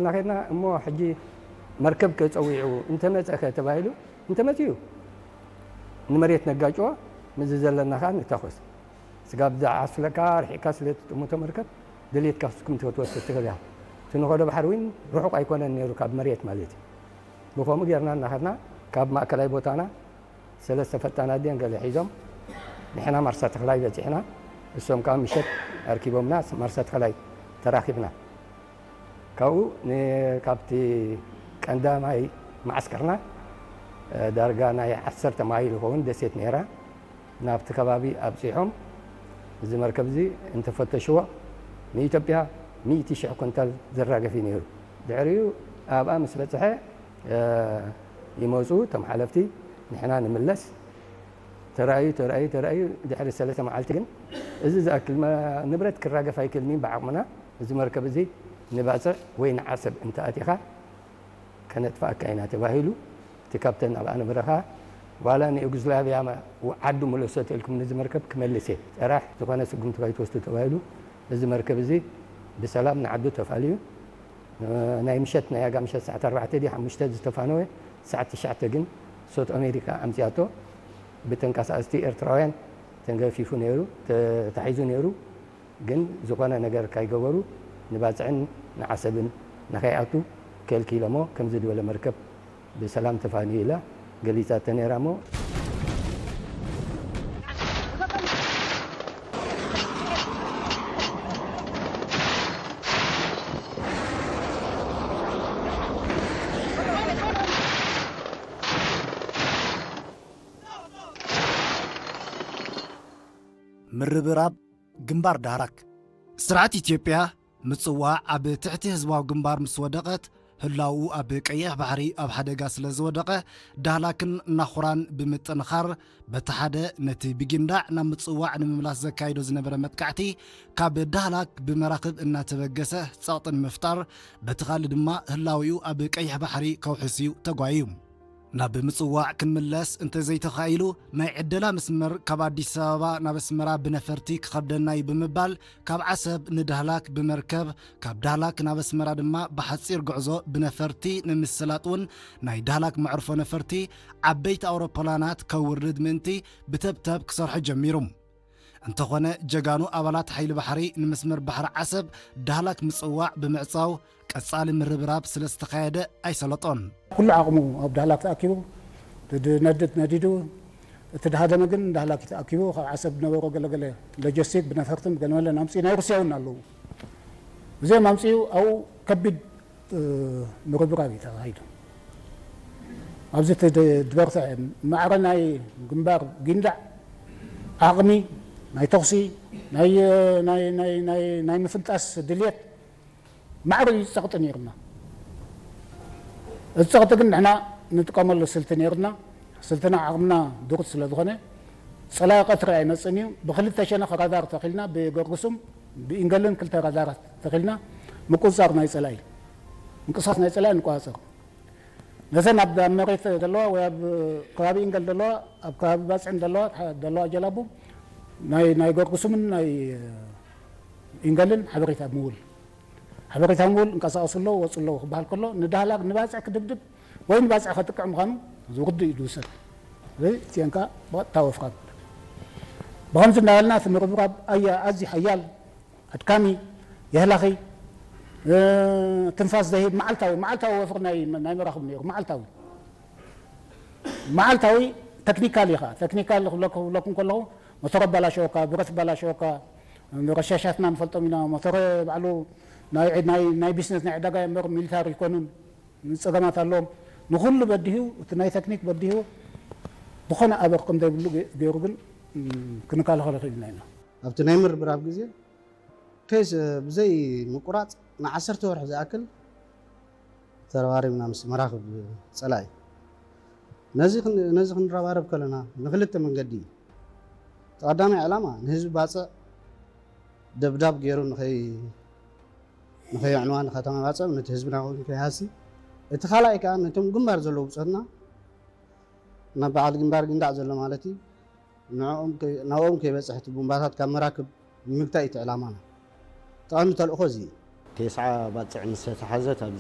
እናኸድና እሞ ሕጂ መርከብ ከጸዊዑ እንተመጸኸ ተባሂሉ፣ እንተመጺኡ ንመሬት ነጋጭዎ፣ ምስዚ ዘለና ኸኣ ንታኾስ። ስጋብ ዝዓስለካ ርሒቕካ ስለ ትጥምቶ መርከብ፣ ድሌትካ ፍጹም ክትወስድ ትኽእል ኢኻ። እቲ ንኸዶ ባሕሪ እውን ርሑቕ ኣይኮነን ነይሩ ካብ መሬት ማለት እዩ። ብኸምኡ ጌርና እናኸድና ካብ ማእከላይ ቦታና ሰለስተ ፈጣናት ድየን ገለ ሒዞም፣ ንሕና ማርሳ ተኽላይ በጺሕና፣ እሶም ከኣ ምሸት ኣርኪቦምና ማርሳ ተኽላይ ተራኺብና። ካብኡ ን-፣ ካብቲ ቀንዳማይ መዓስከርና፣ እ፣ ዳርጋ ናይ ዓሰርተ ማይል ይኸውን ደሴት ነይራ። ናብቲ ከባቢ ኣብጺሖም፣ እዚ መርከብ እዚ እንተፈተሽዎ፣ ንኢትዮጵያ ሚእቲ ሽሕ ኩንታል ዘራግፍ እዩ ነይሩ። ድሕሪኡ ኣብኣ ምስ በጽሐ፣ እ፣ ይመጹ እቶም ሓለፍቲ፣ ንሕና ንምለስ። ተራእዩ፣ ተራእዩ፣ ተራእዩ፣ ድሕሪ ሰለስተ መዓልቲ ግን፣ እዚ ዝኣክል መ-፣ ንብረት ክራገፍ ኣይክእልን እዩ፣ ብዓቕምና እዚ መርከብ እዚ ንባጽዕ ወይ ንዓሰብ እንተኣቲኻ፣ ከነጥፍኣካ ኢና ተባሂሉ። እቲ ካፕተን ኣብኣ ነበረ ኸኣ፣ ዋላ ንዩጎዝላቪያ መ-፣ ዓዱ ምለሶ ተልኩም ነዚ መርከብ ክመልስ እየ፣ ጥራሕ ዝኾነ ስጉምቲ ከይትወስዱ ተባሂሉ። እዚ መርከብ እዚ ብሰላም ንዓዱ ተፋልዩ። ናይ ምሸት፣ ናይ ኣጋ ምሸት ሰዓት ኣርባዕተ ድዩ ሓሙሽተ ዝተፋነወ፣ ሰዓት ትሽዓተ ግን ሶት ኣሜሪካ ኣምጺኣቶ። ብተንቀሳቐስቲ ኤርትራውያን ተንገፊፉ ነይሩ፣ ተታሒዙ ነይሩ። ግን ዝኾነ ነገር ካይገበሩ ንባጽዕን ንዓሰብን ንኸይኣቱ ከልኪሎሞ፣ ከምዚ ዝበለ መርከብ ብሰላም ተፋንዩ ኢላ ገሊጻቶ ነይራ እሞ፣ ምርብራብ ግንባር ዳህላክ። ስርዓት ኢትዮጵያ ምጽዋዕ ኣብ ትሕቲ ህዝባዊ ግንባር ምስ ወደቐት፣ ህላውኡ ኣብ ቀይሕ ባሕሪ ኣብ ሓደጋ ስለ ዝወደቐ፣ ዳህላክን ናኹራን ብምጥንኻር፣ በቲ ሓደ ነቲ ብጊንዳዕ ናብ ምጽዋዕ ንምምላስ ዘካይዶ ዝነበረ መጥቃዕቲ፣ ካብ ዳህላክ ብመራኽብ እናተበገሰ ጸቕጢ ንምፍጣር፣ በቲ ካልእ ድማ ህላዊኡ ኣብ ቀይሕ ባሕሪ ከውሕስ እዩ ተጓይዩ። ናብ ምጽዋዕ ክንምለስ እንተዘይተኻኢሉ፣ ናይ ዕደላ መስመር ካብ ኣዲስ ኣበባ ናብ ኣስመራ ብነፈርቲ ክኸብደና እዩ ብምባል፣ ካብ ዓሰብ ንዳህላክ ብመርከብ፣ ካብ ዳህላክ ናብ ኣስመራ ድማ ብሓጺር ጉዕዞ ብነፈርቲ ንምስላጥ እውን ናይ ዳህላክ መዕርፎ ነፈርቲ ዓበይቲ ኣውሮፕላናት ከውርድ ምእንቲ ብተብተብ ክሰርሖ ጀሚሩ። እንተኾነ፣ ጀጋኑ ኣባላት ሓይሊ ባሕሪ ንመስመር ባሕሪ ዓሰብ ዳህላክ ምጽዋዕ ብምዕጻው፣ ቀጻሊ ምርብራብ ስለ ዝተኻየደ ኣይሰለጦን። ኩሉ ዓቕሙ ኣብ ዳህላክ ተኣኪቡ፣ እቲ ዝነድድ ነዲዱ፣ እቲ ድሃደመ ግን ዳህላክ ተኣኪቡ፣ ካብ ዓሰብ ዝነበሮ ገለገለ ሎጂስቲክ ብነፈርትን ገለመለን ኣምጺኡ፣ ናይ ሩስያ እውን ኣለዉ። እዚኦም ኣምጺኡ ኣብኡ ከቢድ ምርብራብ እዩ ተኻሂዱ። ኣብዚ እቲ ድ-፣ ዝበርትዐ ማዕረ ናይ ግንባር ጊንዳዕ ዓቕሚ ናይ ተኹሲ፣ ናይ፣ ናይ፣ ናይ፣ ናይ፣ ናይ ምፍንጣስ ድልየት ማዕረ እዩ ጸቕጢ ነይርና። እዚ ጸቕጢ ግን ንሕና ንጥቀመሉ ስልቲ ነይርና። ስልትና ዓቕምና ድሩት ስለ ዝኾነ፣ ጸላኢ ቀትሪ ኣይመጽእን እዩ። ብክልተ ሸነኽ ራዳር ተኺልና፣ ብገርጉሱም ብኢንገልን ክልተ ራዳራት ተኺልና፣ ምቁጽጻር ናይ ጸላኢ፣ ምንቅስቓስ ናይ ጸላኢ ንቆጻጸር። ነዘን ኣብ፣ ኣብ መሬት ዘለዋ ወይ ኣብ ከባቢ ኢንገል ዘለዋ፣ ኣብ ከባቢ ባጽዕን ዘለዋ፣ ዘለዋ ጀላቡ ናይ፣ ናይ ገርጉሱምን ናይ ኢንገልን ሓበሬታ ምውል፣ ሓበሬታ ምውል እንቀሳቐሱ ኣለዉ፣ ወጹ ኣለዉ ክበሃል ከሎ፣ ንዳህላክ ንባጽዕ ክድብድብ ወይ ንባጽዕ ከጥቅዕ ምዃኑ ርዱእ እዩ ዝውሰድ። እዚ እቲአን ከኣ ብቐጥታ ወፍራ። ብኸምዚ እናበልና እቲ ምርብራብ ኣያ-፣ ኣዝዩ ሓያል፣ ኣድካሚ፣ የህላኺ፣ እ፣ ትንፋስ ዘሂብ መዓልታዊ፣ መዓልታዊ ወፍሪ ናይ፣ ናይ መራኽብ ነይሩ፣ መዓልታዊ። መዓልታዊ ተክኒካል ኢኻ። ተክኒካል ክብለኩ-፣ ክብለኩም ከለኹ፣ ሞተር ኣባላሸወካ፣ ብረት ኣባላሸወካ፣ ረሻሻትና ንፈልጦም ኢና። ሞተር ባዕሉ ናይ፣ ናይ፣ ናይ ቢዝነስ ናይ ዕዳጋ እምበር ሚሊታሪ ኣይኮኑን። ጸገማት ኣለዎም። ንኹሉ በዲሁ፣ እቲ ናይ ተክኒክ በዲሁ፣ ዝኾነ ኣበር ከም ዘይብሉ ገ-፣ ገይሩ ግን፣ እም፣ ክንከላኸሎ ክኢልና ኢና። ኣብቲ ናይ ምርብራብ ግዜ ኬስ ብዘይ ምቁራጽ ንዓሰርተ ወርሒ ዝኣክል ተረባሪብና ምስ መራኽብ ጸላኢ። ነዚ ክን-፣ ነዚ ክንረባረብ ከለና ንክልተ መንገዲ እዩ። እቲ ቀዳማይ ዕላማ ንህዝቢ ባጽዕ ደብዳብ ገይሩ ንኸይ-፣ ንኸየዕንዋ ንከተማ ባጽዕ፣ ነቲ ህዝብና እውን ከይሃሲ። እቲ ካልኣይ ከኣ ነቶም ግንባር ዘለዉ ብጾትና ናብ በዓል ግንባር ጊንዳዕ ዘሎ ማለት እዩ፣ ንዕኦም ከይ-፣ ናብኦም ከይበጽሕ እቲ ቡምባታት ካብ መራክብ ንምግታእ እዩ እቲ ዕላማና። እቲ ቀንዲ ተልእኾ እዚ እዩ። ቴስዓ ባጽዕ ምስ ተታሓዘት ኣብ